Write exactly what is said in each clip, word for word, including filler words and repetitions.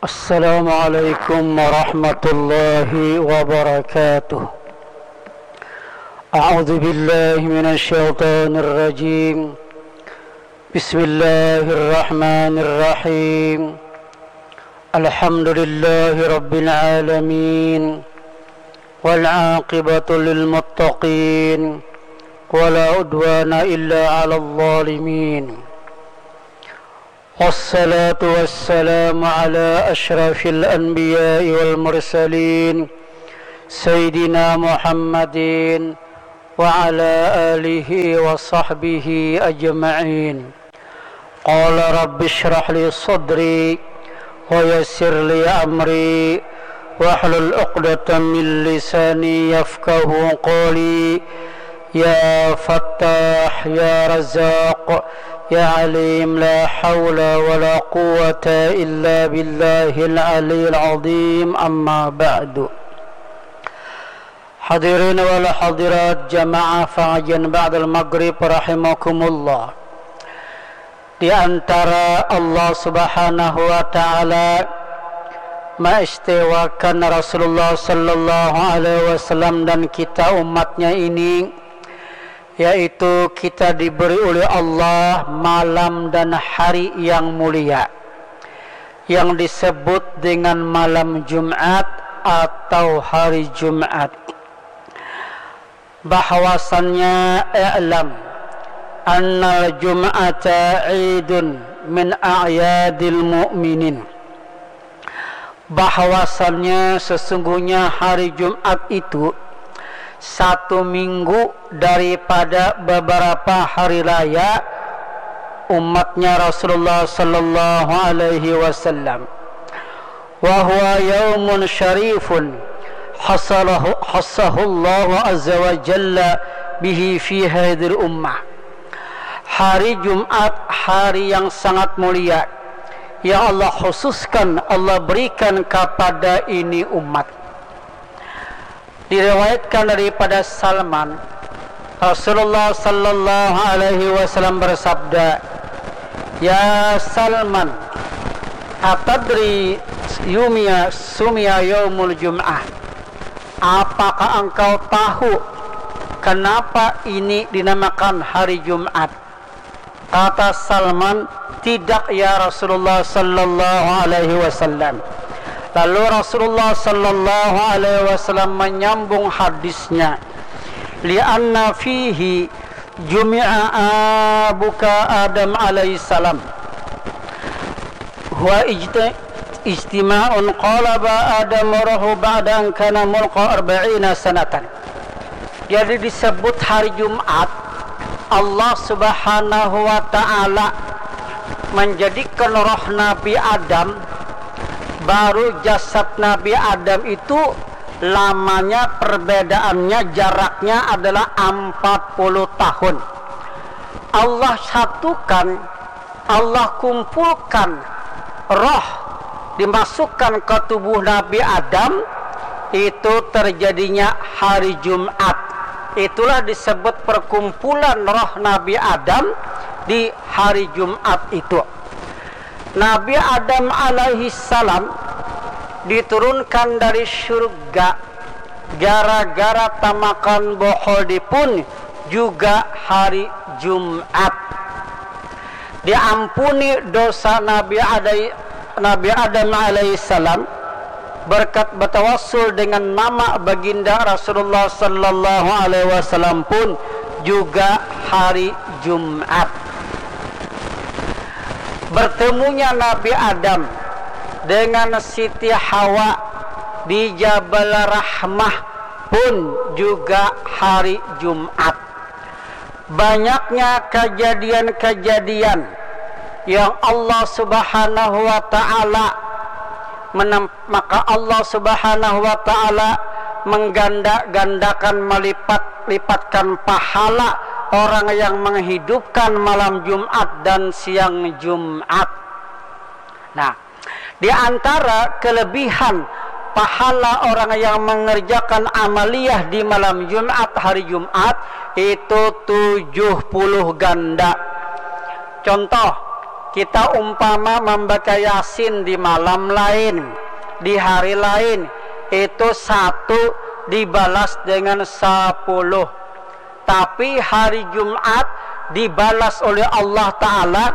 السلام عليكم ورحمة الله وبركاته. أعوذ بالله من الشيطان الرجيم. بسم الله الرحمن الرحيم. الحمد لله رب العالمين. والعاقبة للمتقين. ولا عدوان إلا على الظالمين. والصلاة والسلام على أشرف الأنبياء والمرسلين سيدنا محمد وعلى آله وصحبه أجمعين. قال رب اشرح لي صدري ويسر لي أمري واحلل عقدة من لساني يفقه قولي. يا فتاح يا رزاق يا عليم لا حول ولا قوة إلا بالله العلي العظيم أما بعد. Hadirin wal hadirat jamaah pengajian ba'dal maghrib rahimakumullah. Di antara Allah Subhanahu wa taala maistiwakan Rasulullah sallallahu alaihi wasallam dan kita umatnya ini, yaitu kita diberi oleh Allah malam dan hari yang mulia, yang disebut dengan malam Jumat atau hari Jumat. Bahwasannya, i'lam annal jum'ata idun min a'yadil mu'minin. Bahwasannya sesungguhnya hari Jumat itu satu minggu daripada beberapa hari raya umatnya Rasulullah sallallahu alaihi wasallam. Wa huwa yaumun syarifun hasalahu, hasahullahu azza wa jalla bihi fi hadhil ummah. Hari Jumat, hari yang sangat mulia yang Allah khususkan, Allah berikan kepada ini umat. Diriwayatkan daripada Salman, Rasulullah sallallahu alaihi wasallam bersabda, "Ya Salman, atadri yumia sumia yaumul jum'ah? Apakah engkau tahu kenapa ini dinamakan hari Jumat?" Kata Salman, "Tidak, ya Rasulullah sallallahu alaihi wasallam." Lalu Rasulullah sallallahu alaihi wasallam menyambung hadisnya, "Li'anna fihi jumi'a abuka Adam alaihi salam. Huwa ijti-, ijtima'un qala ba Adam rohu ba'da an kana mulqa arba'ina sanatan." Jadi disebut hari Jumat, Allah Subhanahu wa Ta'ala menjadikan roh Nabi Adam, baru jasad Nabi Adam itu lamanya perbedaannya, jaraknya adalah empat puluh tahun. Allah satukan, Allah kumpulkan roh dimasukkan ke tubuh Nabi Adam, itu terjadinya hari Jumat. Itulah disebut perkumpulan roh Nabi Adam di hari Jumat itu. Nabi Adam alaihi salam diturunkan dari surga gara-gara tamakan bohol dipun juga hari Jumat. Diampuni dosa Nabi Adai-, Nabi Adam alaihi salam berkat bertawassul dengan nama baginda Rasulullah sallallahu alaihi wasallam pun juga hari Jumat. Bertemunya Nabi Adam dengan Siti Hawa di Jabal Rahmah pun juga hari Jumat. Banyaknya kejadian-kejadian yang Allah Subhanahu wa Ta'ala menem-, maka Allah Subhanahu wa Ta'ala mengganda-gandakan, melipat-lipatkan pahala orang yang menghidupkan malam Jumat dan siang Jumat. Nah, di antara kelebihan pahala orang yang mengerjakan amaliyah di malam Jumat, hari Jumat, itu tujuh puluh ganda. Contoh, Kita umpama membaca Yasin di malam lain, di hari lain, itu satu dibalas dengan sepuluh. Tapi hari Jumat dibalas oleh Allah Ta'ala,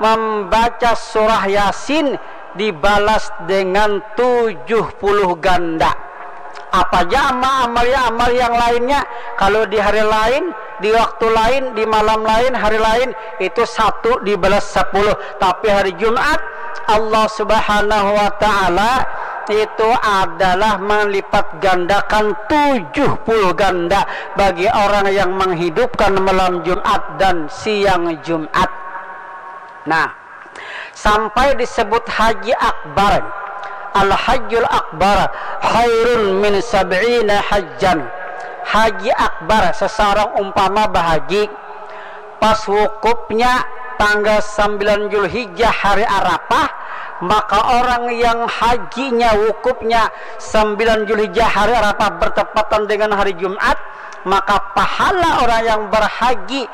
membaca surah Yasin dibalas dengan tujuh puluh ganda. Apa aja amal-amal yang lainnya, kalau di hari lain, di waktu lain, di malam lain, hari lain, itu satu dibalas sepuluh. Tapi hari Jumat, Allah Subhanahu wa Ta'ala itu adalah melipat gandakan tujuh puluh ganda bagi orang yang menghidupkan malam Jumat dan siang Jumat. Nah, sampai disebut Haji Akbar. Al-Hajjul Akbar khairun min sab'ina hajjan. Haji Akbar, seseorang umpama bahaji, pas wukufnya tanggal sembilan Julhijjah hari Arafah, maka orang yang hajinya wukufnya sembilan Julhijjah hari Arafah bertepatan dengan hari Jumat, maka pahala orang yang berhaji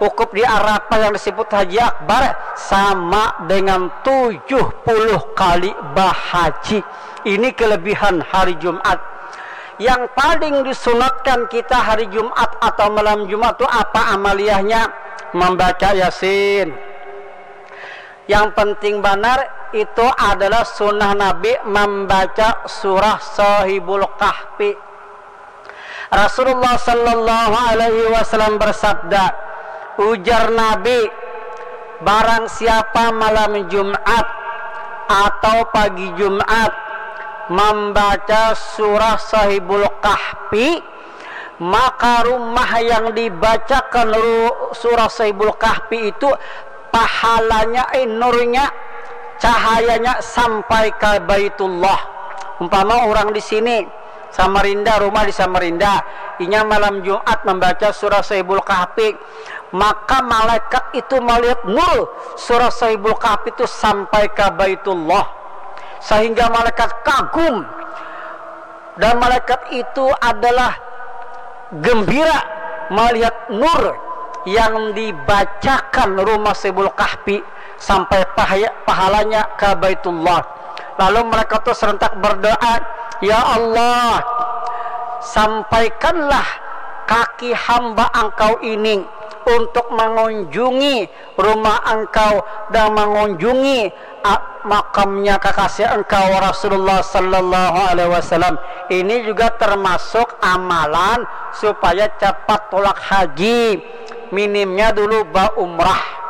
wukuf di Arafah yang disebut Haji Akbar sama dengan tujuh puluh kali bahaji. Ini kelebihan hari Jumat. Yang paling disunatkan kita hari Jumat atau malam Jumat itu apa amaliyahnya? Membaca Yasin. Yang penting banar itu adalah sunnah Nabi membaca surah Sahibul Kahfi. Rasulullah sallallahu alaihi wasallam bersabda, ujar Nabi, barang siapa malam Jumat atau pagi Jumat membaca surah Sahibul Kahfi, maka rumah yang dibacakan ru- surah Sahibul Kahfi itu pahalanya, eh, nurnya, cahayanya sampai ke Baitullah. Umpama orang di sini, Samarinda, rumah di Samarinda, inya malam Jumat membaca surah Sahibul Kahfi, maka malaikat itu melihat nur surah Sahibul Kahfi itu sampai ke Baitullah, sehingga malaikat kagum dan malaikat itu adalah gembira melihat nur yang dibacakan rumah Sahibul Kahfi sampai pahaya- pahalanya ke Baitullah. Lalu mereka tu serentak berdoa, "Ya Allah, sampaikanlah kaki hamba Engkau ini untuk mengunjungi rumah Engkau dan mengunjungi, a, makamnya kekasih Engkau Rasulullah sallallahu alaihi wasallam." Ini juga termasuk amalan supaya cepat tulak haji. Minimnya dulu baumrah.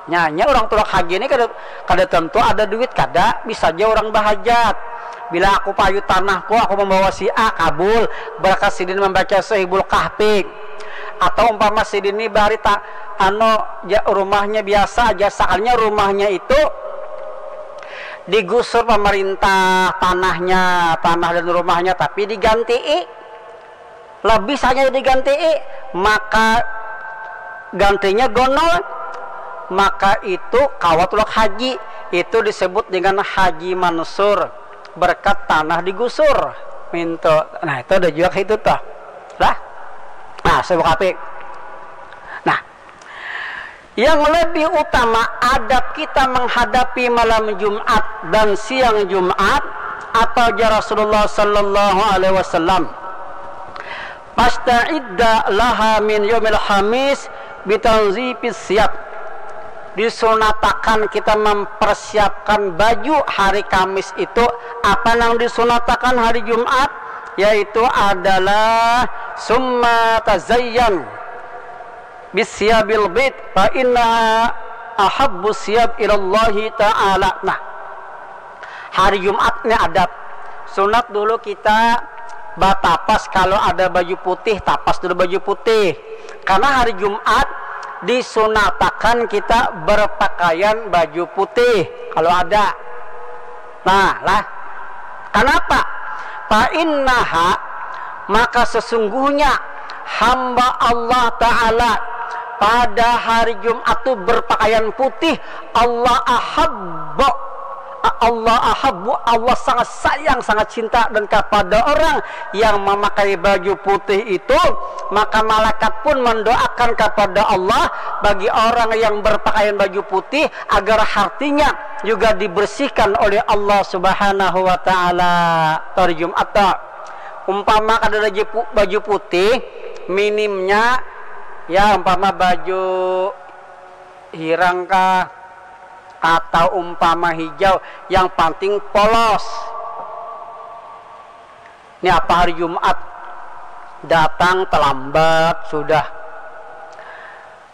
Nya, nya orang tulak haji ni kada, kada tentu ada duit, kada, bisa ja orang bahajat. Bila aku payu tanahku, aku membawa si A, kabul, berkat sidin membaca Sahibul Kahfi. Atau umpama sidin ni bahari ta, anu, ja, rumahnya biasa aja, sakalinya rumahnya itu digusur pemerintah, tanahnya, tanah dan rumahnya, tapi digantii. Lebih saja digantii, maka gantinya gonol, maka itu kawa tulak haji. Itu disebut dengan haji mansur, berkat tanah digusur. Mintu. Nah, itu ada juga itu tuh. Lah. Nah, Sahibul Kahfi. Nah, yang lebih utama adab kita menghadapi malam Jumat dan siang Jumat, apa ujar Rasulullah sallallahu alaihi wasallam? "Fasta'idda laha min yaumil khamis bitanzifis siyab." Disunatakan kita mempersiapkan baju hari Kamis itu. Apa nang disunatakan hari Jumat? Yaitu adalah summa tazayyan bisiyabil bid fa inna ahabbu siyab ilallahi ta'ala. Nah, hari Jumat ni adab. Sunat dulu kita batapas, kalau ada baju putih, tapas dulu baju putih. Karena hari Jumat disunatakan kita berpakaian baju putih kalau ada. Nah, lah. Kenapa? Fa innaha, maka sesungguhnya hamba Allah Ta'ala pada hari Jumat tu berpakaian putih, Allah ahabba, a-, Allah ahabbu, Allah sangat sayang, sangat cinta dan kepada orang yang memakai baju putih itu, maka malaikat pun mendoakan kepada Allah bagi orang yang berpakaian baju putih agar hatinya juga dibersihkan oleh Allah Subhanahu wa taala. Hari Jumat tak umpama kada ada baju putih, minimnya ya umpama baju hirang kah atau umpama hijau, yang penting polos. Ini apa hari Jumat datang terlambat sudah.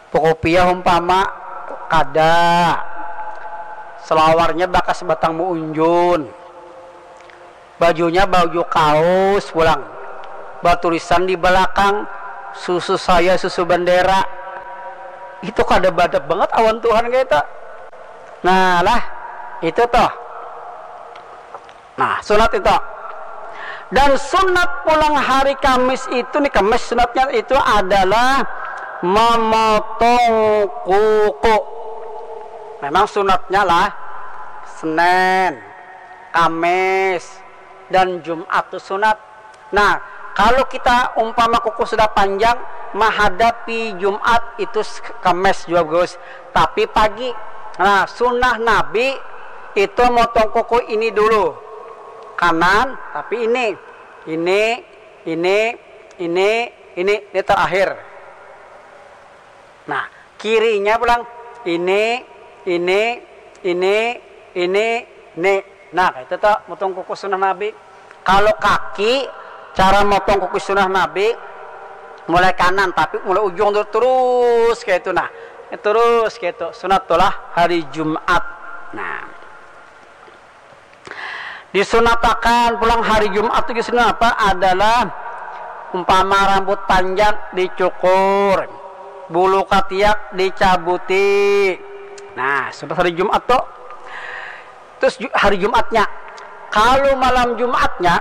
Pokok piah umpama kada, selawarnya bakas batang muunjun, bajunya baju kaos pulang, batulisan di belakang susu saya susu bendera. Itu kada badap banget awan Tuhan kayak itu. Nah lah, itu toh. Nah, sunat itu. Dan sunat pulang hari Kamis itu nih, Kamis sunatnya itu adalah memotong kuku. Memang sunatnya lah Senin, Kamis, dan Jumat tuh sunat. Nah, kalau kita umpama kuku sudah panjang, menghadapi Jumat itu Kamis juga bagus. Tapi pagi. Nah, sunnah Nabi itu motong kuku ini dulu. Kanan, tapi ini. Ini, ini, ini, ini, ini terakhir. Nah, kirinya pulang ini, ini, ini, ini, ini. Nah, itu tuh motong kuku sunnah Nabi. Kalau kaki, cara motong kuku sunnah Nabi mulai kanan, tapi mulai ujung tuh terus kayak itu. Nah, terus kayak itu. Sunat tuh lah hari Jumat. Nah, disunatakan pulang hari Jumat itu sunat apa? Adalah umpama rambut panjang dicukur, bulu katiak dicabuti. Nah, sunat hari Jumat tuh. Terus hari Jumatnya, kalau malam Jumatnya,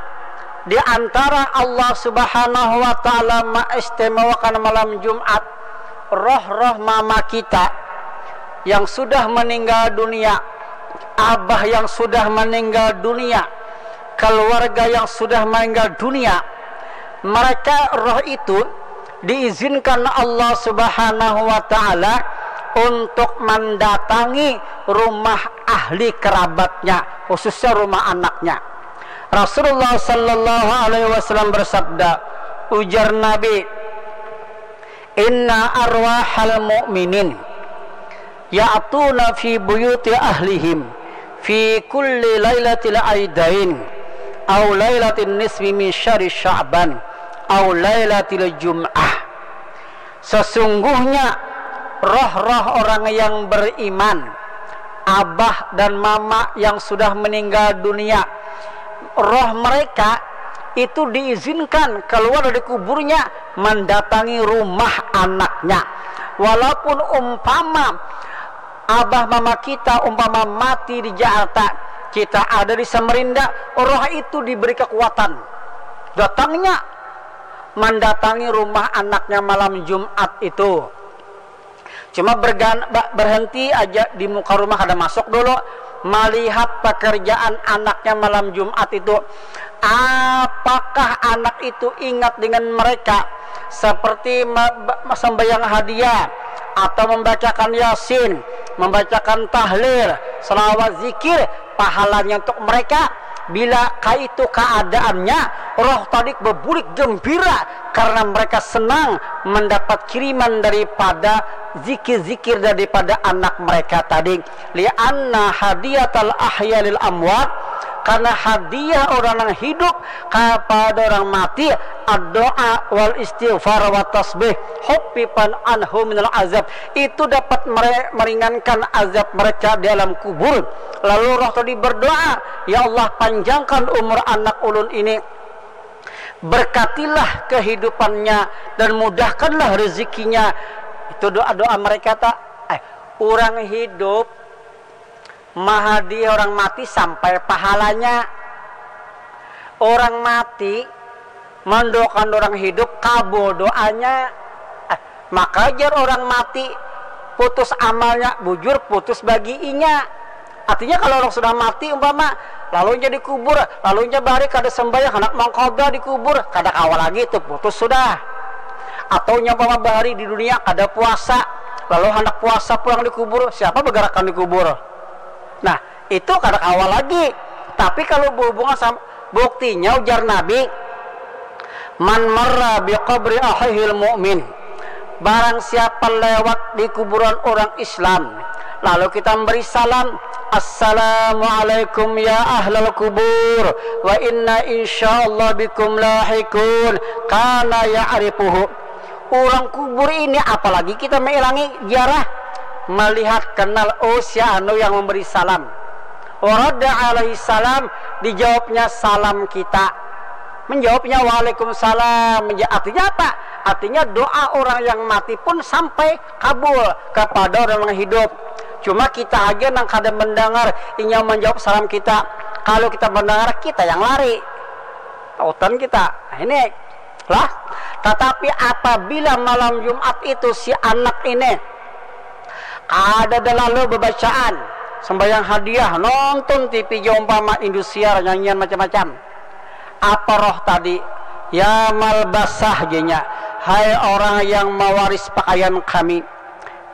di antara Allah Subhanahu wa Ta'ala maistimewakan malam Jumat, roh-roh mama kita yang sudah meninggal dunia, abah yang sudah meninggal dunia, keluarga yang sudah meninggal dunia, mereka, roh itu diizinkan Allah Subhanahu wa Ta'ala untuk mendatangi rumah ahli kerabatnya, khususnya rumah anaknya. Rasulullah sallallahu alaihi wasallam bersabda, ujar Nabi, "Inna arwahal mu'minin ya'tuna fi buyuti ahlihim fi kulli lailatil aidain au lailatin nisfi min syahri sya'ban au lailatil jum'ah." Sesungguhnya roh-roh orang yang beriman, abah dan mama yang sudah meninggal dunia, roh mereka itu diizinkan keluar dari kuburnya mendatangi rumah anaknya. Walaupun umpama abah mama kita umpama mati di Jakarta, kita ada di Samarinda, roh itu diberi kekuatan. Datangnya mendatangi rumah anaknya malam Jumat itu. Cuma bergan, ba- berhenti aja di muka rumah, kada masuk dulu, melihat pekerjaan anaknya malam Jumat itu. Apakah anak itu ingat dengan mereka seperti me- ba- sembahyang hadiah atau membacakan Yasin, membacakan tahlil, selawat, zikir, pahalanya untuk mereka? Bila kaitu keadaannya, roh tadi bebulik gembira karena mereka senang mendapat kiriman daripada zikir-zikir daripada anak mereka tadi. Lianna hadiyatal ahya lil amwat, karena hadiah orang yang hidup kepada orang mati, doa wal istighfar wa tasbih, hufifan anhu minal azab, itu dapat mere- meringankan azab mereka di alam kubur. Lalu roh tadi berdoa, "Ya Allah, panjangkan umur anak ulun ini, berkatilah kehidupannya dan mudahkanlah rezekinya." Itu doa-doa mereka tak. Eh, orang hidup mahadi orang mati sampai pahalanya. Orang mati mendoakan orang hidup kabo doanya. Eh, maka jar orang mati putus amalnya, bujur putus bagi inya. Artinya kalau orang sudah mati umpama, lalu nya dikubur, lalu nya bari kada sembahyang, hendak mengkoda dikubur, kada kawa lagi itu, putus sudah. Atau nya umpama bahari di dunia kada puasa, lalu hendak puasa pulang dikubur, siapa bergerakan dikubur? Nah, itu kada kawa lagi. Tapi kalau berhubungan sama, buktinya ujar Nabi, "Man marra bi qabri akhihil mu'min." Barang siapa lewat di kuburan orang Islam, lalu kita memberi salam, "Assalamualaikum ya ahlal kubur, wa inna insyaallah bikum lahikun." Kana ya'rifuhu. Orang kubur ini, apalagi kita mengilangi ziarah, melihat kenal, oh, si anu yang memberi salam. Warada alaihi salam, dijawabnya salam kita. Menjawabnya waalaikumsalam. Menja-, artinya apa? Artinya doa orang yang mati pun sampai kabul kepada orang yang hidup. Cuma kita aja nang kada mendengar inya menjawab salam kita. Kalau kita mendengar, kita yang lari. Tautan kita. Nah, ini lah. Tetapi apabila malam Jumat itu si anak ini kada ada lalu bebacaan, sembahyang hadiah, nonton T V ja umpama, Indosiar, nyanyian macam-macam. Apa roh tadi? Ya malbasah, jenya, hai orang yang mawaris pakaian kami.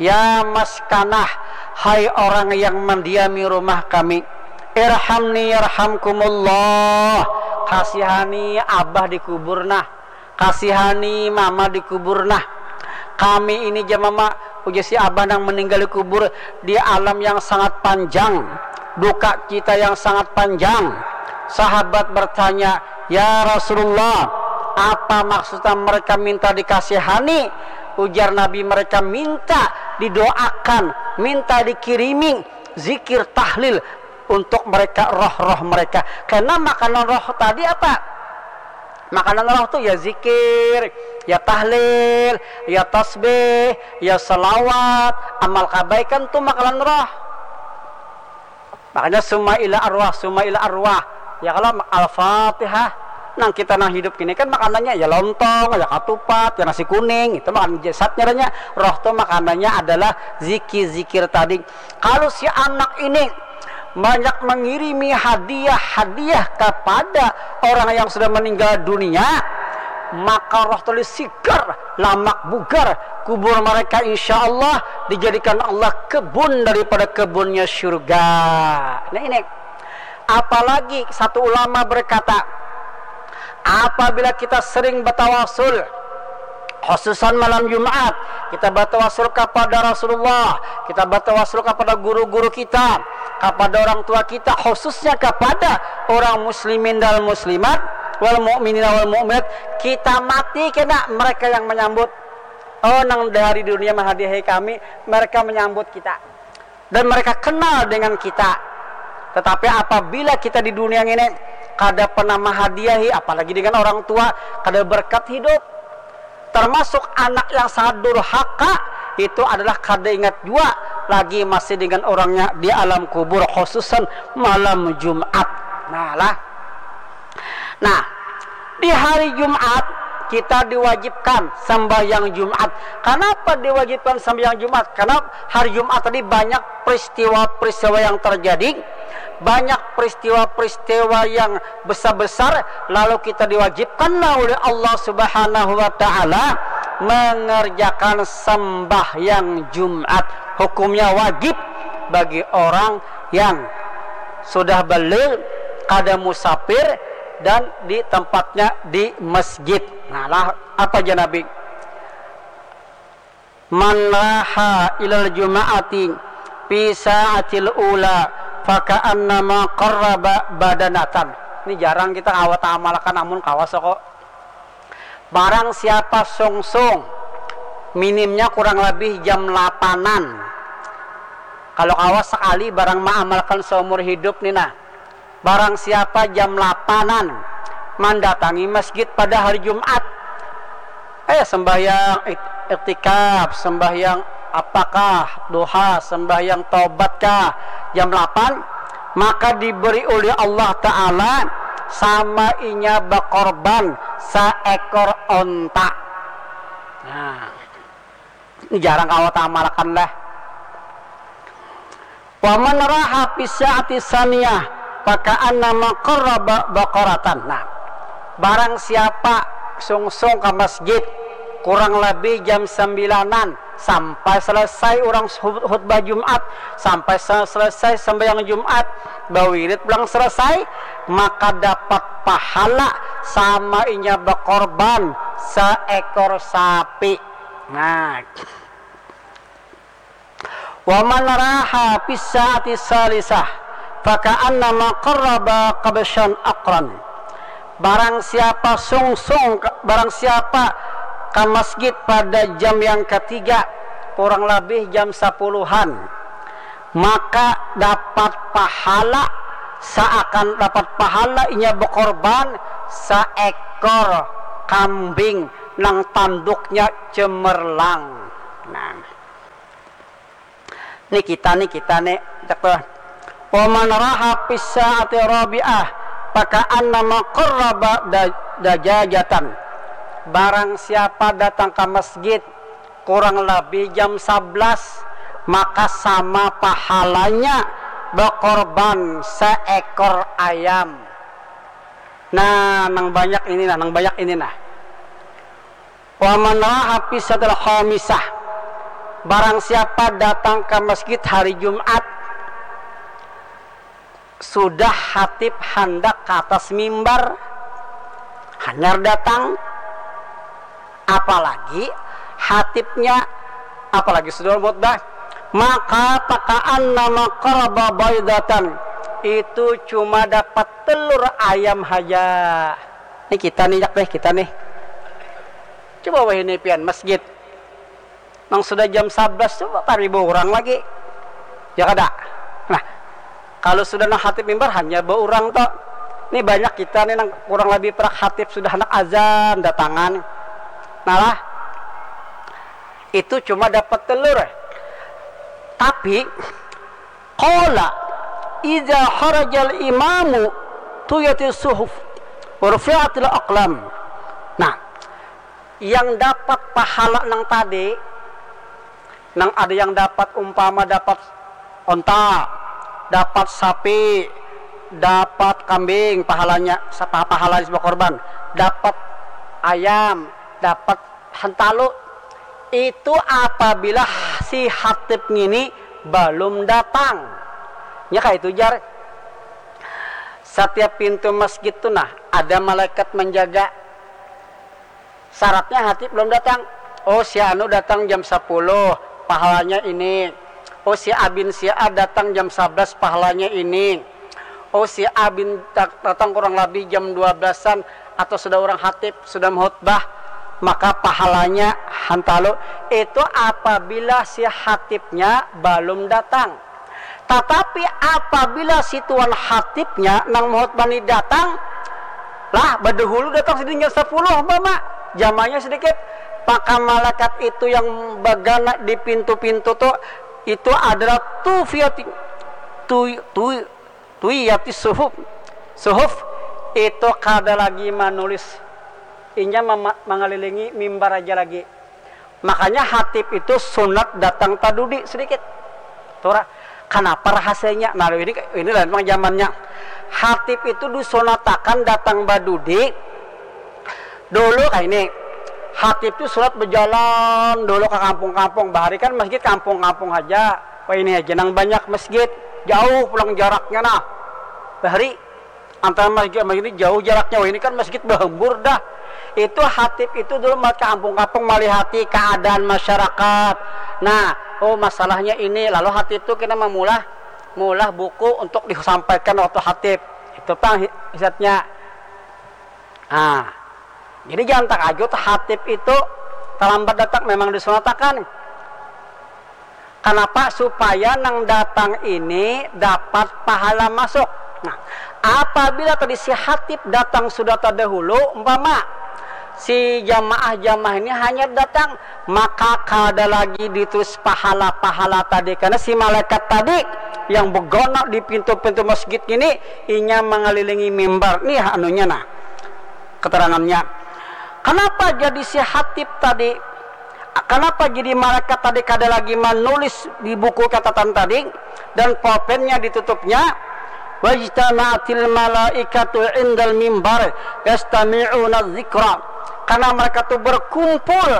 Ya maskanah, hai orang yang mendiami rumah kami. Irhamni yarhamkumullah. Kasihani abah di kubur nah. Kasihani mama di kubur nah. Kami ini, jar mama, ujar si abah nang meninggal di kubur, di alam yang sangat panjang, duka cita yang sangat panjang. Sahabat bertanya, "Ya Rasulullah, apa maksudnya mereka minta dikasihani?" Ujar Nabi, "Mereka minta didoakan, minta dikirimi zikir tahlil untuk mereka, roh-roh mereka." Karena makanan roh tadi apa? Makanan roh tu ya zikir, ya tahlil, ya tasbih, ya salawat, amal kabaikan tu makanan roh. Makanya summa ila arwah, summa ila arwah. Ya kalau Al-Fatihah, nang kita nang hidup kini kan makanannya ya lontong, ya katupat, ya nasi kuning, itu makan jasad nyarannya. Roh tu makanannya adalah zikir-zikir tadi. Kalau si anak ini banyak mengirimi hadiah-hadiah kepada orang yang sudah meninggal dunia, maka roh tadi sigar, lamak bugar, kubur mereka insya Allah dijadikan Allah kebun daripada kebunnya syurga. Nah ini, apalagi satu ulama berkata, apabila kita sering bertawasul, khususan malam Jumat, kita bertawasul kepada Rasulullah, kita bertawasul kepada guru-guru kita, kepada orang tua kita, khususnya kepada orang muslimin dan muslimat, wal mukminin wal mukminat, kita mati kena mereka yang menyambut. Oh, nang dari dunia menghadiahi kami, mereka menyambut kita dan mereka kenal dengan kita. Tetapi apabila kita di dunia ini kada pernah menghadiahi, apalagi dengan orang tua, kada berkat hidup, termasuk anak yang sangat durhaka, itu adalah kada ingat jua lagi masih dengan orangnya di alam kubur, khususan malam Jumat. Nah lah. Nah, di hari Jumat kita diwajibkan sembahyang Jumat. Kenapa diwajibkan sembahyang Jumat? Karena hari Jumat tadi banyak peristiwa-peristiwa yang terjadi, banyak peristiwa-peristiwa yang besar-besar, lalu kita diwajibkanlah oleh Allah Subhanahu wa Ta'ala mengerjakan sembahyang Jumat. Hukumnya wajib bagi orang yang sudah baligh, kada musafir, dan di tempatnya di masjid. Nah lah, apa jar Nabi? "Man raha ilal juma'ati fi sa'atil ula faka'annama qarraba badanatan." Ini jarang kita kawa taamalakan, namun kawa soko. Barang siapa sungsung, minimnya kurang lebih jam lapanan. Kalau kawa sekali barang maamalkan seumur hidup nih nah. Barang siapa jam lapanan mendatangi masjid pada hari Jumat, eh, sembahyang ik-, iktikaf, sembahyang apakah, duha, sembahyang taubatkah, jam lapan, maka diberi oleh Allah Ta'ala sama inya bakorban seekor onta. Nah, ini jarang kawa taamalakan lah. Wa man raha fi sa'ati saniyah, fa ka'annama qarraba baqaratan. Nah, barang siapa sungsung ka masjid kurang lebih jam sambilanan, sampai selesai urang khut-, khutbah Jumat, sampai se-, selesai sembahyang Jumat, bawirid pulang selesai, maka dapat pahala sama inya bakorban seekor sapi. Nah, wa man raha fi sa'ati salisah, fa ka'annama qarraba kabsyan aqran. Barang siapa sungsung, barang siapa ka masjid pada jam yang ketiga, kurang lebih jam sapuluhan, maka dapat pahala, seakan dapat pahala inya bakorban seekor kambing nang tanduknya cemerlang. Nah, ni kita, ni kita, ni, cak tuh. Wa man raha fi sa'ati rabi'ah, fa ka'annama qarraba da-, dajajatan. Barang siapa datang ka masjid kurang lebih jam sablas, maka sama pahalanya bakorban seekor ayam. Nah, nang banyak ini nah, nang banyak ini nah. Wa man raha fi sa'atil khamisah. Barang siapa datang ka masjid hari Jumat, sudah hatib handak ka atas mimbar, hanyar datang, apalagi hatibnya, apalagi sudah khutbah, maka fa ka'annama qarraba baidatan, itu cuma dapat telur ayam haja. Ni kita ni, jak deh, kita nih. Coba wahini pian masjid. Nang sudah jam sablas tu, taribu urang lagi. Ya kada? Nah, kalau sudah nang hatib mimbar, hanya baurang tu. Ni banyak kita ni nang kurang lebih parak hatib sudah handak azan datangan. Nah lah, itu cuma dapat telur. Tapi, qala, "Idza kharajal imamu tuyatis suhuf, wa rufi'atil aqlam." Nah, yang dapat pahala nang tadi, nang ada yang dapat, umpama dapat onta, dapat sapi, dapat kambing, pahalanya, sapa-, pahala si bakorban, dapat ayam, dapat hantalu, itu apabila si hatib ngini balum datang. Nya kaitu jar. Satiap pintu masjid tu nah, ada malaikat manjaga. Syaratnya hatib balum datang. Oh, si anu datang jam sapuluh, pahalanya ini. Oh, si A bin si A datang jam sablas, pahalanya ini. Oh, si A bin da-, datang kurang labih jam dua belasan atau sudah urang hatib, sudah mahutbah, maka pahalanya hantalu. Itu apabila si hatibnya balum datang. Tatapi apabila si tuan hatibnya nang mahutbah ni datang, lah, badahulu datang sidin jam sapuluh umpama, jamanya sadikit, maka malaikat itu yang bagana di pintu-pintu tu, itu adalah tufiyati, tu-, tu-, tuyati suhuf. Suhuf itu kada lagi manulis, inya mama-, mangalilingi mimbar aja lagi. Makanya hatib itu sunat datang tadudi sadikit. Tura, kanapa rahasianya? Nah, ini, ini lah memang zamannya. Hatib itu disunatakan datang badudi. Dulu kayak ini, hatib itu sunat berjalan dulu ke kampung-kampung. Bahari kan masjid kampung-kampung aja. Wah, ini aja nang banyak masjid. Jauh pulang jaraknya nah. Bahari antara masjid sama ini jauh jaraknya. Wah, ini kan masjid bahembur dah. Itu hatib itu dulu mat ke kampung-kampung malihati keadaan masyarakat. Nah, oh, masalahnya ini. Lalu hatib itu kena memulah, mulah buku untuk disampaikan waktu hatib. Itu pang hi-, hisatnya. Nah, jadi jangan takajut hatib itu terlambat datang, memang disunatakan. Kanapa? Supaya nang datang ini dapat pahala masuk. Nah, apabila tadi si hatib datang sudah terdahulu, umpama si jamaah-jamaah ini hanya datang, maka kada lagi ditulis pahala-pahala tadi, karena si malaikat tadi yang begonok di pintu-pintu masjid ini, inya mengelilingi mimbar. Nih anunya nah, keterangannya. Kenapa jadi si hatib tadi Kenapa jadi malaikat tadi kada lagi menulis di buku catatan tadi dan pulpennya ditutupnya? Wajtama'atil malaikatu indal mimbar yastami'una zikra. Karena mereka tuh berkumpul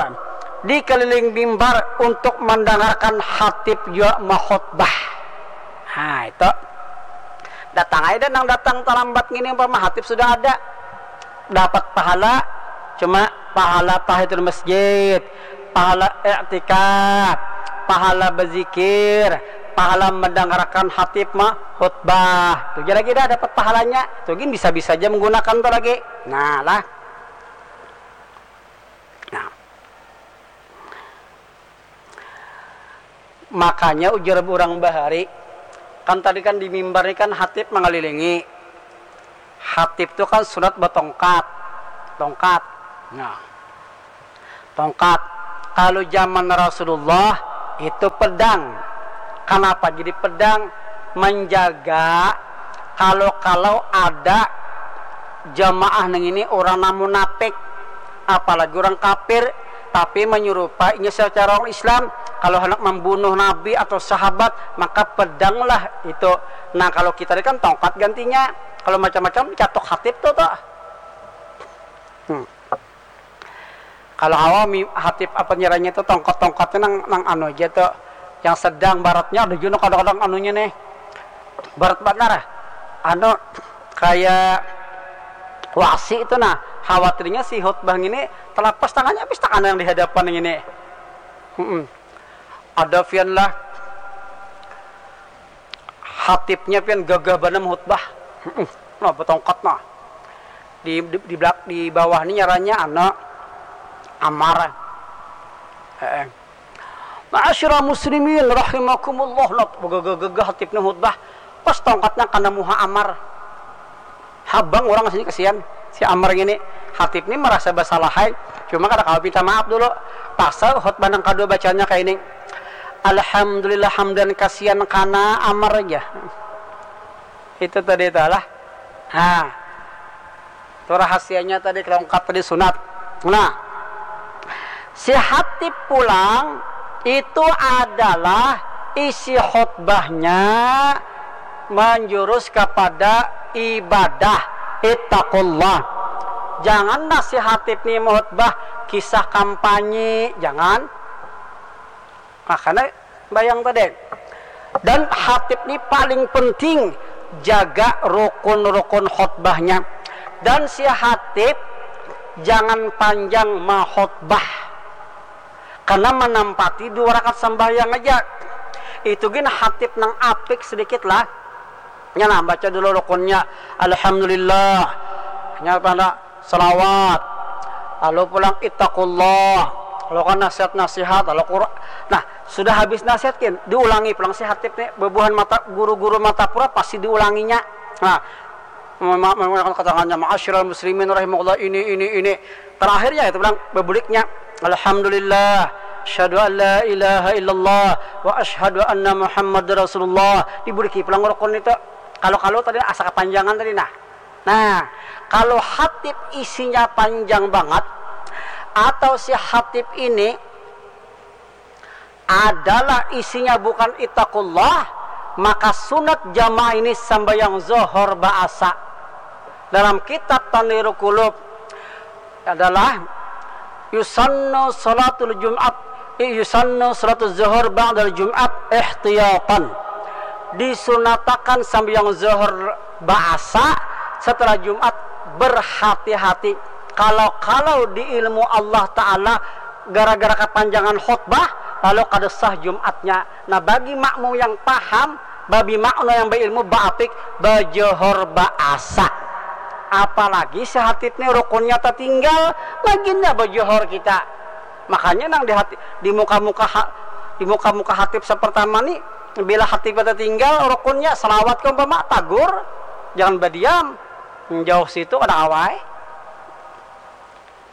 di keliling mimbar untuk mendengarkan hatib jua mahutbah. Nah, itu. Datang aja nang datang terlambat ngini umpama hatib sudah ada. Dapat pahala, cuma pahala tahiyatul masjid, pahala iktikaf, pahala berzikir, pahala mendengarkan hatib mah khutbah. Tuh lagi dah dapat pahalanya. Tuh gin bisa-bisa aja menggunakan tuh lagi. Nah lah. Nah. Makanya ujar orang bahari, kan tadi kan di mimbar ini kan hatib mengelilingi. Hatib tu kan sunat batongkat. Tongkat. Nah. Tongkat. Kalau zaman Rasulullah itu pedang. Kenapa jadi pedang? Menjaga kalau-kalau ada jamaah nang ini orang nang munafik, apalagi orang kafir, tapi menyerupainya secara orang Islam. Kalau hendak membunuh Nabi atau sahabat, maka pedanglah itu. Nah, kalau kita ini kan tongkat gantinya. Kalau macam-macam catok hatib tuh tuh. Hmm. Kalau awam hatib apa nyerahnya tuh tongkat-tongkatnya nang nang anu aja tuh. Yang sedang baratnya ada juga kadang-kadang anunya nih. Barat banar. Anu kayak wasi itu nah. Khawatirnya si khutbah ini terlepas tangannya habis tangan yang di hadapan ini. Mm-mm. Ada pian lah hatibnya pian gagah banar khutbah. Mm-mm. Nah, betongkat nah. Di di di, belak, di bawah ini nyaranya anak Amar. Heeh. Ma'asyiral muslimin rahimakumullah. Nah, gagah-gagah hatibnya khutbah. Pas tongkatnya kena muha Amar. Habang orang sini kasihan. Si Amar ini hatib ini merasa bersalah hai. Cuma kada kawa minta maaf dulu. Pasal khutbah nang kedua bacanya kayak ini. Alhamdulillah hamdan kasihan karena Amar aja. Itu tadi itu lah. Nah, itu rahasianya tadi kelongkat tadi sunat. Nah, si hatib pulang itu adalah isi khutbahnya menjurus kepada ibadah, ittaqullah. Jangan nasihatin nih khutbah kisah kampanye, jangan. Nah, karena bayang tadi. Dan hatib ini paling penting jaga rukun-rukun khutbahnya. Dan si hatib jangan panjang mahutbah. Karena menampati dua rakaat sembahyang aja. Itu gin hatib nang apik sedikit lah. Nya nah, baca dulu rukunnya. Alhamdulillah. Nya pada salawat. Lalu pulang ittaqullah. Lalu kan nasihat-nasihat, lalu Quran. Nah, sudah habis nasihat kin, diulangi pulang si hatib nih, bebuhan mata guru-guru mata pura pasti diulanginya. Nah, menggunakan keterangannya ma'asyiral muslimin rahimakumullah ini ini ini. Terakhirnya itu bilang bebuliknya, alhamdulillah, asyhadu an la ilaha illallah wa asyhadu anna Muhammad rasulullah. Dibuliki pulang rukun itu. Kalau-kalau tadi asa kepanjangan tadi nah. Nah, kalau hatib isinya panjang banget atau si hatib ini adalah isinya bukan ittaqullah, maka sunat jamaah ini sambayang zohor baasa. Dalam kitab Tanwirul Qulub adalah yusannu salatul Jumat, yusannu salatul zuhur ba'dal Jumat ihtiyatan. Disunatakan sambayang zuhur baasa setelah Jumat berhati-hati. Kalau-kalau di ilmu Allah Ta'ala gara-gara kepanjangan khutbah lalu kada sah Jumatnya. Nah, bagi makmum yang paham, babi makna yang berilmu baapik bajohor baasa. Apalagi si hatib ni rukunnya tertinggal, laginnya bajohor kita. Makanya nang di hati, di muka-muka ha, di muka-muka hatib sepertama ni, bila hatib tertinggal rukunnya, salawat ke umpama tagur, jangan badiam. Jauh situ kada awai.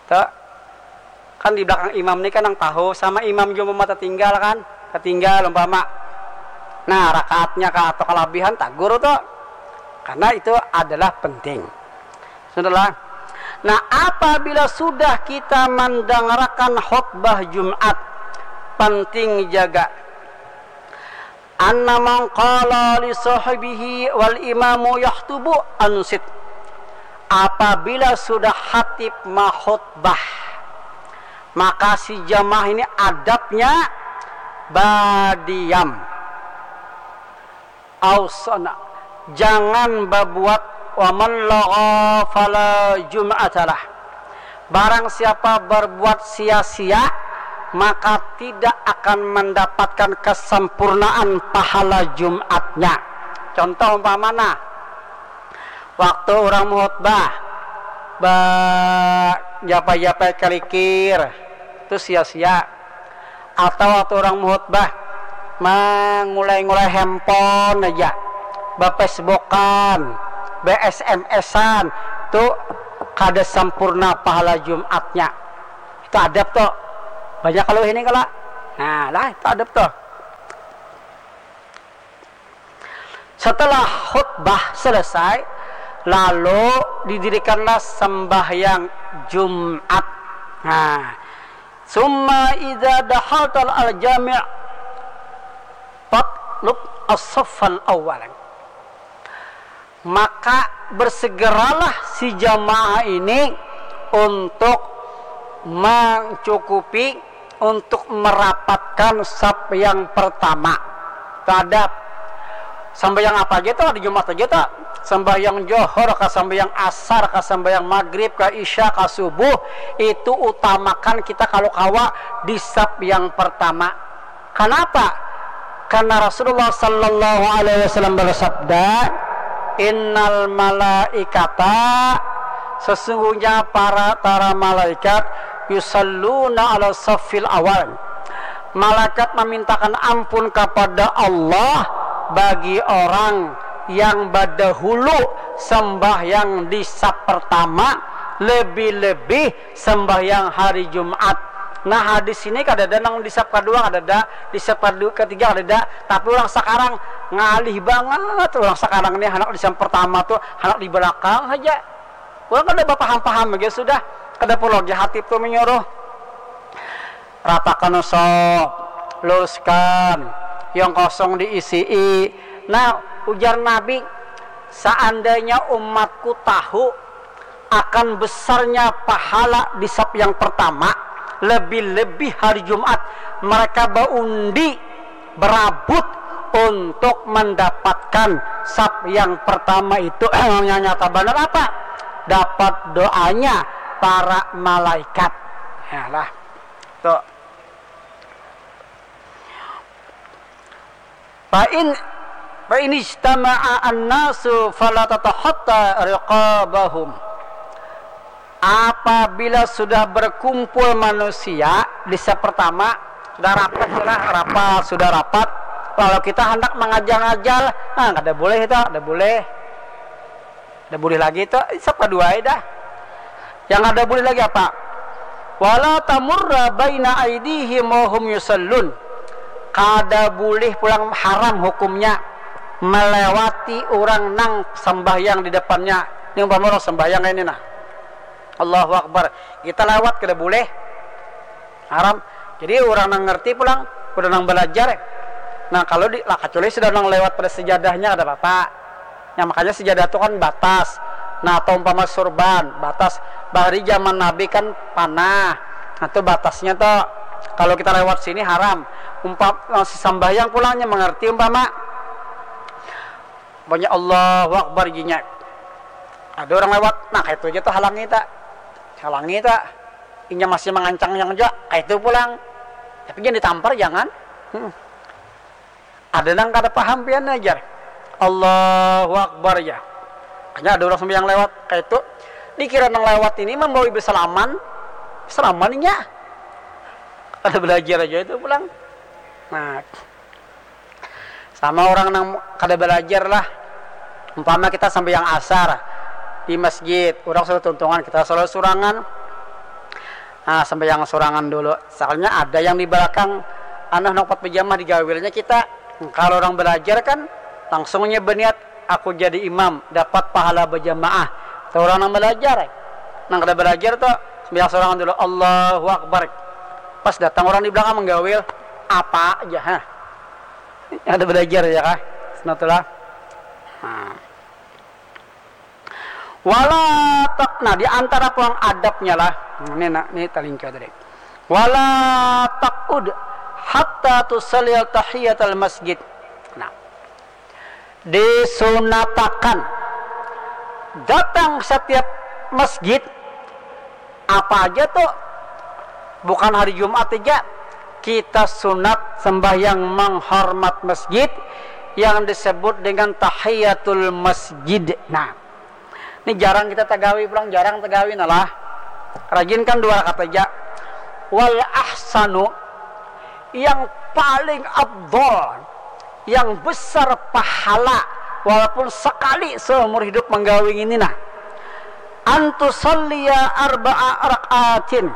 Tuh. Kan di belakang imam ni kan nang tahu, sama imam jua umpama tertinggal kan, tertinggal umpama. Nah, rakaatnya kah atau kalabihan tagur tuh. Karena itu adalah penting. Sudahlah. Nah, apabila sudah kita mendengarkan khutbah Jumat, Penting jaga. Anna man qala li sahibihi wal imamu yahtubu, ansit. Apabila sudah khatib mahutbah, maka si jamaah ini adabnya badiam. Ausana, jangan babuat, waman lagha fala jum'atalah. Barang siapa berbuat sia-sia, maka tidak akan mendapatkan kesempurnaan pahala Jumatnya. Contoh umpama nah, waktu orang mengkhutbah, ba-, japai-japai kelikir, itu sia-sia. Atau waktu orang mengkhutbah, mengulai-ngulai handphone aja, bafacebookan, ba-S M S-an, tu kada sempurna pahala Jumatnya. Itu adab tuh. Banyak kalau ini kalau. Nah, lah itu adab tuh. Setelah khutbah selesai, lalu didirikanlah sembahyang Jumat. Nah, summa idza dahaltal al jami' fatlub as-saffal awwal. Maka bersegeralah si jamaah ini untuk mencukupi, untuk merapatkan saf yang pertama. Itu adab. Sambayang apa aja tuh, hari Jumat aja tuh. Sambayang johor, kah sambayang asar, kah sambayang maghrib, kah isya, kah subuh, itu utamakan kita kalau kawa di saf yang pertama. Kenapa? Karena Rasulullah sallallahu alaihi wasallam bersabda, "Innal malaikata, sesungguhnya para, para malaikat, yusalluna ala saffil awal." Malaikat memintakan ampun kepada Allah bagi orang yang badahulu sembahyang di saf pertama, lebih-lebih sembahyang hari Jumat. Nah, hadis ini kadada nang di saf kedua, kadada di saf kedua, ketiga, kadada. Tapi orang sekarang ngalih banget. Orang sekarang ini anak di saf pertama tuh, anak di belakang saja. Orang kada bapaham-paham aja sudah. Kada perlu lagi hatib tuh menyuruh. Ratakan sop, luruskan, yang kosong diisi. Nah, ujar Nabi, seandainya umatku tahu akan besarnya pahala di saf yang pertama, lebih-lebih hari Jumat, mereka baundi, berabut untuk mendapatkan saf yang pertama itu. Yang nyata benar apa? Dapat doanya para malaikat. Ya lah. Tuh. Fa in, fa in ijtama'a an-nasu fala tatahatta riqabahum. Apabila sudah berkumpul manusia di saf pertama, sudah rapat, sudah rapat, sudah rapat, lalu kita hendak mengajal-ngajal, nah, kada boleh itu, kada boleh. Kada boleh lagi itu, saf kedua ai dah. Yang kada boleh lagi apa? Wala tamurra baina aidihim wa hum yusallun. Kada boleh pulang, haram hukumnya melewati orang nang sembahyang di depannya. Ini umpama orang sembahyang ini nah. Allahu Akbar. Kita lewat kada boleh. Haram. Jadi orang nang ngerti pulang, udah nang belajar. Nah, kalau di, lah, kecuali sudah nang lewat pada sejadahnya, kada apa-apa. Nah, makanya sejadah tu kan batas. Nah, atau umpama surban, batas. Bahari zaman Nabi kan panah. Nah, tu batasnya tu. Kalau kita lewat sini haram. Umpam, eh, sesambahyang pulangnya mengerti umpama. Banyak Allahu Akbar ginya. Ada orang lewat, nah, kayak itu aja tu halangi tak. Halangi tak. Inya masih mengancang yang aja, kayak itu pulang. Tapi jangan ditampar, jangan. Hmm. Ada nang kada paham pian ajar. Allahu Akbar ya. Hanya ada orang sembahyang lewat, kayak itu. Dikira nang lewat ini membawa ibu salaman. Salaman inya. Kada belajar aja itu pulang. Nah, sama orang nang kada belajar lah. Umpama kita sambahyang asar di masjid, orang sudah tuntungan, kita selalu surangan. Nah, sambahyang surangan dulu. Soalnya ada yang di belakang, anu, nang pat berjamaah digawilnya kita. Kalau orang belajar kan langsungnya berniat, "Aku jadi imam, dapat pahala berjamaah." Tuh orang nang belajar. Nang kada belajar tuh, sambahyang surangan dulu, Allahu Akbar. Pas datang orang di belakang menggawil, apa aja, ha? Ada belajar ya kah? Sunatullah. Nah. Wala tak, nah, di antara pulang adabnya lah. Ini nak, ini talingka tadi. Wala taqud hatta tusalli tahiyatal masjid. Nah, disunatakan datang setiap masjid apa aja tuh, bukan hari Jumat aja, kita sunat sembahyang menghormat masjid yang disebut dengan tahiyatul masjid. Nah, ini jarang kita tagawi pulang, jarang tagawi nalah. Rajin kan dua rakaat aja. Wal ahsanu, yang paling afdol, yang besar pahala, walaupun sekali seumur hidup menggawi ini nah. Antusalliya arba'a rakaatin.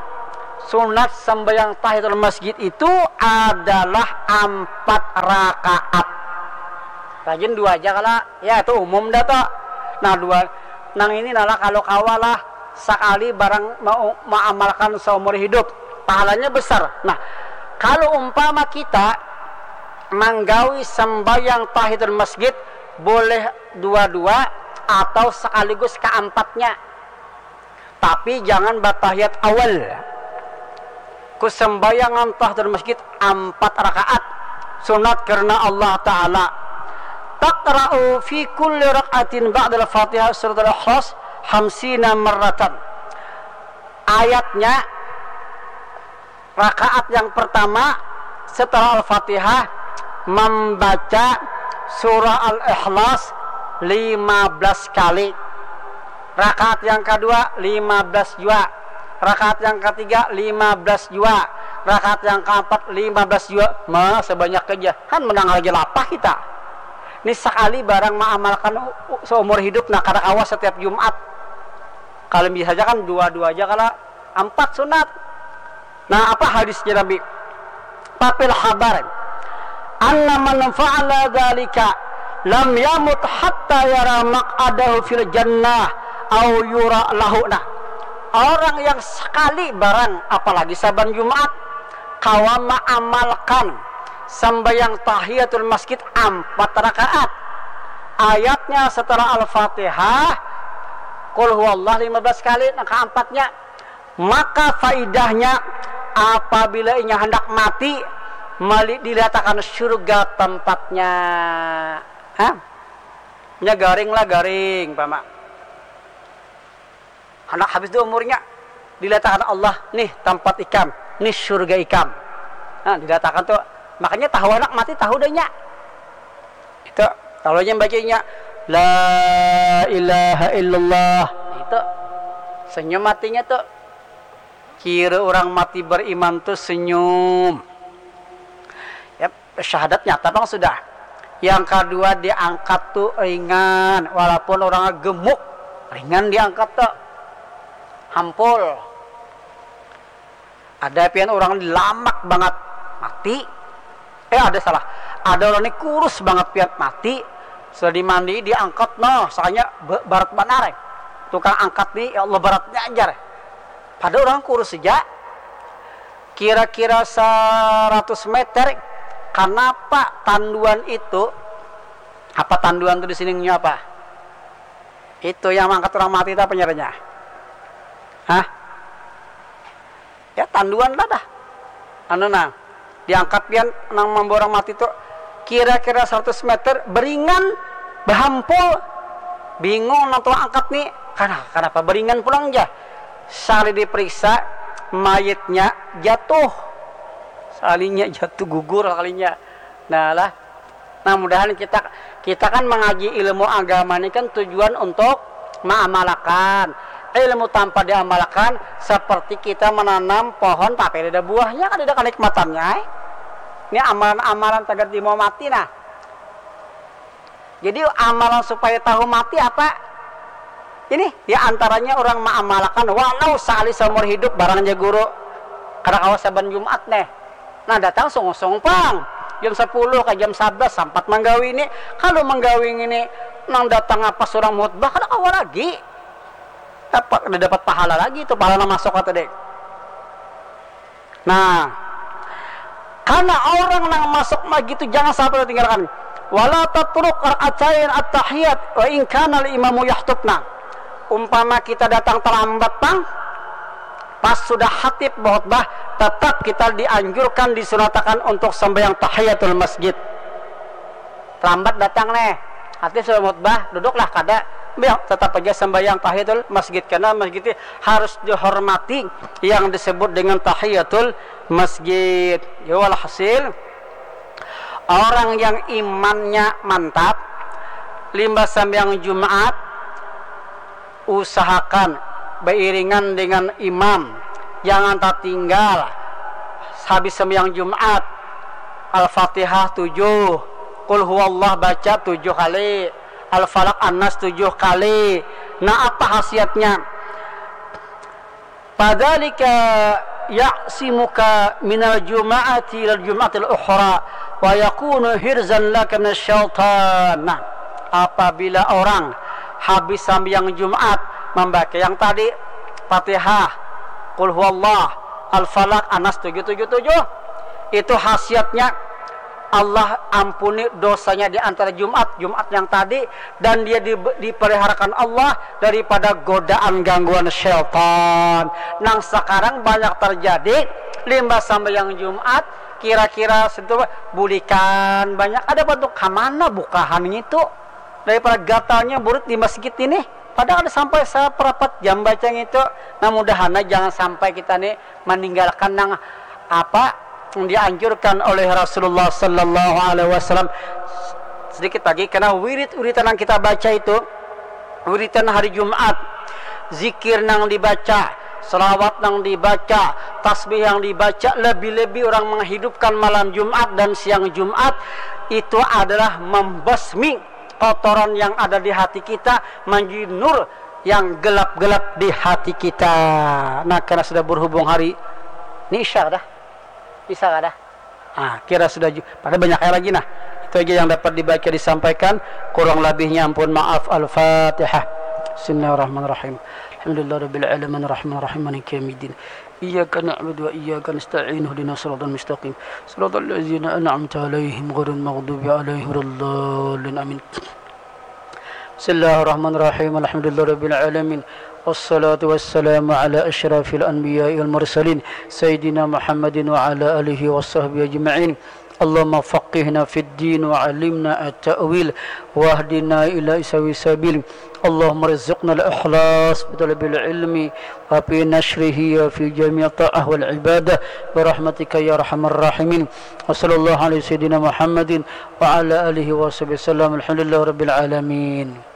Sunat sembahyang tahiyatul masjid itu adalah empat rakaat. Rajin dua aja kala, ya itu umum dah toh. Nah dua, nang ini nalah kalau kawalah sakali barang mau maamalkan seumur hidup, pahalanya besar. Nah, kalau umpama kita manggawi sembahyang tahiyatul masjid, boleh dua-dua atau sekaligus keempatnya. Tapi jangan batahiyat awal. Kusembayangan tahiyatul masjid empat rakaat sunat karena Allah Ta'ala. Taqra'u fi kulli rakaatin ba'dal Fatihah surat Al-Ikhlas hamsina marratan. Ayatnya, rakaat yang pertama setelah Al-Fatihah membaca surah Al-Ikhlas lima belas kali. Rakaat yang kedua lima belas jua. Rakaat yang ketiga lima belas jua. Rakaat yang keempat lima belas jua. Ma, sebanyak aja. Kan menang lagi lapah kita. Ini sekali barang mengamalkan seumur hidup, nah kada kawa setiap Jumat. Kalau bisa aja kan dua-dua aja, kalau empat sunat. Nah, apa hadisnya Nabi? Papil habar. Anna man fa'ala dzalika lam yamut hatta yara maq'adahu fil jannah au yura lahu. Nah, orang yang sekali barang, apalagi saban Jumat, kawa maamalkan sembahyang tahiyatul masjid empat rakaat. Ayatnya setelah Al-Fatihah, Qul huwallah lima belas kali, nah keempatnya. Maka faidahnya, apabila inya hendak mati, mali dilatakan surga tempatnya. Hah? Nya garing lah, garing, pama. Hendak habis tu umurnya, dilatakan Allah, nih tempat ikam, nih surga ikam. Nah, dilatakan tu. Makanya tahu anak mati, tahu dah nya. Itu, kalau nya bacanya, "La ilaha illallah." Itu, senyum matinya tu. Kira orang mati beriman tu senyum. Ya, syahadat nyata pang sudah. Yang kedua diangkat tu ringan, walaupun orangnya gemuk, ringan diangkat tu. Hampul. Ada pian orang lamak banget, mati. Eh, ada salah. Ada orang ni kurus banget pian, mati. Sudah dimandi, diangkat, noh, soalnya be-, berat banar, eh. Tukang angkat ni, ya Allah, beratnya ajar. Pada orang kurus saja, kira-kira seratus meter, kenapa tanduan itu, apa tanduan tu di sini nya apa? Itu yang mangkat orang mati tu apa ngarannya? Hah? Ya, tanduan lah dah. Anu nah, diangkat pian nang mambawa orang mati tu kira-kira seratus meter, beringan, bahampul. Bingung nang tukang angkat ni, "Kana-, kanapa beringan pulang jar?" Sakali diperiksa, mayitnya jatuh. Sakalinya jatuh, gugur sakalinya. Nah lah, nah, mudahan kita, kita kan mengaji ilmu agama ni kan tujuan untuk mengamalkan. Ilmu tanpa diamalkan seperti kita menanam pohon tapi ada buahnya, kan ada kenikmatannya, eh. Ini amalan-amalan tagal di mau mati, nah. Jadi amalan supaya tahu mati apa? Ini, ya, antaranya orang mengamalkan walau sekali seumur hidup, barangnya guru. Kada kawa saban Jumat neh. Nah, datang sungsung pang. Jam sepuluh ka jam sebelas sampat manggawi ini. Kalau manggawi ini nang datang apa surang khutbah, kada kawa lagi. Dapat, kada dapat pahala lagi tu, pahala nang masuk kata dek. Nah, Karena orang nang masuk masjid itu jangan sampai ditinggalkan. Wala tatruk rak'atain at-tahiyat wa in kana al-imamu yahtubna. Umpama kita datang terlambat pang, pas sudah khatib berkhutbah, tetap kita dianjurkan, disunatakan untuk sembahyang tahiyatul masjid. Terlambat datang nih, khatib sudah khutbah, duduklah kada, tetap aja sembahyang tahiyatul masjid karena masjid ini harus dihormati yang disebut dengan tahiyatul masjid. Ya, walhasil, orang yang imannya mantap, limbah sambahyang Jumat, usahakan beiringan dengan imam, jangan tertinggal. Habis sambahyang Jumat, Al-Fatihah tujuh, Qul huwallah baca tujuh kali, Al-Falaq, An-Nas tujuh kali. Nah, apa khasiatnya? Fadzalika ya'simuka minal juma'ati ilal juma'atil ukhra wa yakunu hirzan laka minasy syaitan. Nah, apabila orang habis sambahyang Jumat membaca yang tadi, Fatihah, Qul huwallah, Al-Falaq, An-Nas tujuh tujuh tujuh, itu khasiatnya Allah ampuni dosanya di antara Jumat, Jumat yang tadi, dan dia di, dipeliharakan Allah daripada godaan gangguan syaitan. Nang sekarang banyak terjadi, limbah sambahyang Jumat, kira-kira sentuh bulikan banyak, ada bantuk kamana bukahan ngitu daripada gatalnya burit di masjid ini. Padahal ada sampai saparapat jam baca ngitu. Nah, mudahan jangan sampai kita nih meninggalkan nang apa yang dianjurkan oleh Rasulullah sallallahu alaihi wasallam. Sedikit lagi, karena wirid-wiridan yang kita baca itu, wiridan hari Jumat, zikir nang dibaca, selawat nang dibaca, tasbih yang dibaca, lebih-lebih orang menghidupkan malam Jumat dan siang Jumat, itu adalah membasmi kotoran yang ada di hati kita, menjadi nur yang gelap-gelap di hati kita. Nah, karena sudah berhubung hari ini, Isya dah. Isya dah. Ah, kira sudah ju-, pada banyak lagi. Nah, itu aja yang dapat dibaca, disampaikan. Kurang lebihnya ampun maaf. Al-Fatihah. Bismillahirrahmanirrahim. Alhamdulillahirabbil alamin, arrahmanirrahim, maliki yaumiddin. Iyyaka na'budu wa iyyaka nasta'in, ihdinas siratal mustaqim, siratal ladzina an'amta 'alaihim, ghairil maghdubi 'alaihim waladdallin. Amin. Bismillahirrahmanirrahim. Alhamdulillahirabbil alamin. Wassalatu wassalamu ala asyrafil anbiya'i wal mursalin, sayyidina Muhammadin wa ala alihi wa sahbihi ajma'in. Allahumma faqihna fid din wa alimna at-ta'wil, wahdina ila sawi sabil. Allahumma rzuqna al-ikhlas fi talabil ilmi wa fi nashrihi wa fi jami'i ta'ah wal ibadah, bi rahmatika ya arhamar rahimin. Wa sallallahu ala sayyidina Muhammadin wa ala alihi wa sahbihi wasallam. Alhamdulillahirabbil alamin.